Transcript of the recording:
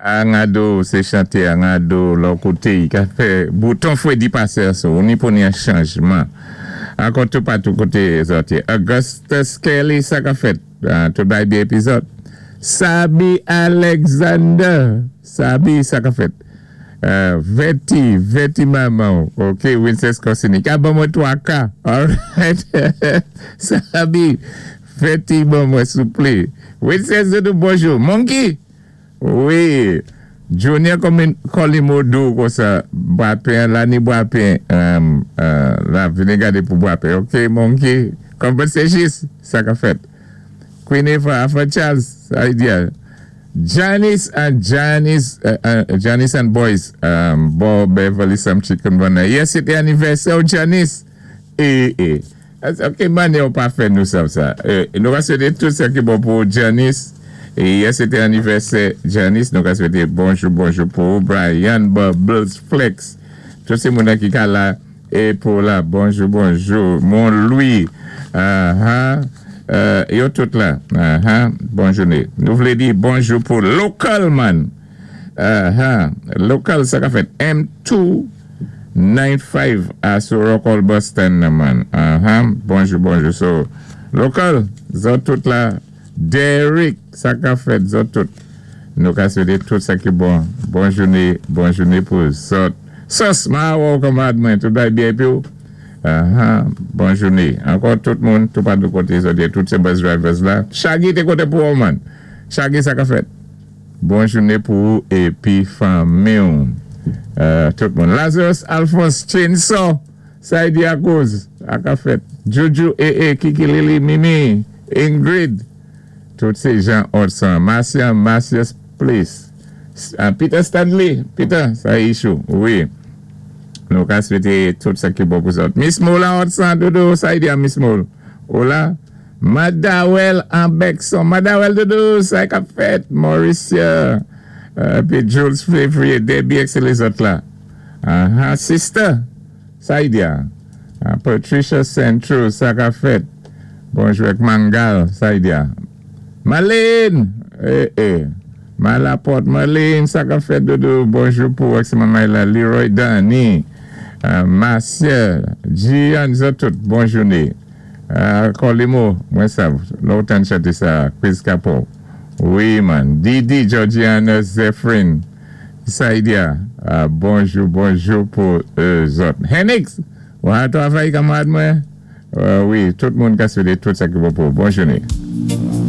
Angado, sé chanté Angado, lò koté i ka fè bouton fwédi pasé so, ni pou ni an chanjman. Ankò toupatou koté zòt yé. Augustus Kelly, sa ka fèt? Tout bay byen épi zòt. Sabi Alexander, Sabi, sa ka fèt? Vèti, Vèti manman w, ok, Wincess Corsini. Ka ban mwen 3 ka, alright. Sabi, Vèti ban mwen souplé. Wincess Doudou, bonjou. Monkey, wi, Junior Colimodo konsa, bwapen, la ni bwapen, la vini gadé pou bwapen, ok, Monkey. Kòman sé jis, sa ka fèt? Queen Eva, Afa Charles, sa y di a? Janice and Janice, Janice and Boys, bò Beverly Sam Chicken Runner. Yè sé té anivèsè w, Janice. E, e. Ok, mannyè ou pa fè nou sav sa. Nou ka swété tout sa ki bon pou Janice. E yè sé té anivèsè Janice, nou ka swété bonjou bonjou pou ou, Brian Bubbles Flex. Tout sé moun ki ka la é pou la. Bonjou bonjou. Mon Louis. Aha. Yo tout la. Aha. Bon jouné. Nou vlé di bonjou pou local man. Aha. Local sa ka fèt M2 95 a sou Rockall Bus Stand nan man. Aha. Bonjou bonjou. So, local, zòt tout la. Derrick, sa ka fèt, zòt tout. Nou ka swété tout sa ki bon. Bon jouné, bon jouné pou zòt. Sos, ma wè w kanmarad mwen, tout bay byen épi w? Aha, bon jouné. Ankò tout moun, toupatou koté zòt yé, tout sé bus drivers la. Shaggy té koté pou ou man. Shaggy sa ka fèt? Bon jouné pou ou épi fanmi w. Tout moun. Lazarus Alphonse Chainsaw, sa y di akoz? Sa ka fèt? Juju, ee, Kiki Lili, Mimi, Ingrid, tout sé Jean Otsan, Marcia, Marcius Place, Peter Stanley, Peter, sa issue, wi. Nou ka swété tout sa ki bon pou zòt. Miss Mola Otsan, doudou, sa y di a Miss Mol? Ou la? Madawel Ambexon, Madawel doudou, sa k ap fèt? Mauricia, épi Jules Février, Debbie ak sé lézòt la. Aha, sister, sa y di a? Patricia Centro, sa ka fèt? Bonjou ak Mangal, sa y di a? Marlene! Eh eh. Malaport, Marlene, sa ka fèt doudou? Bonjou pou ak manmay la, Leroy Danny, Marcia, Gian, zòt tout, bon jouné. Colimo, mwen sav, lò ou tann chanté sa, Chris Capo. Wi man. Didi, Georgiana, Zephrine, sa y di a? Bonjou, bonjou pou zòt. Henix! Ou al travay kanmarad mwen? Wi, tout moun ka swété tout sa ki bon pou ou. Bon jouné.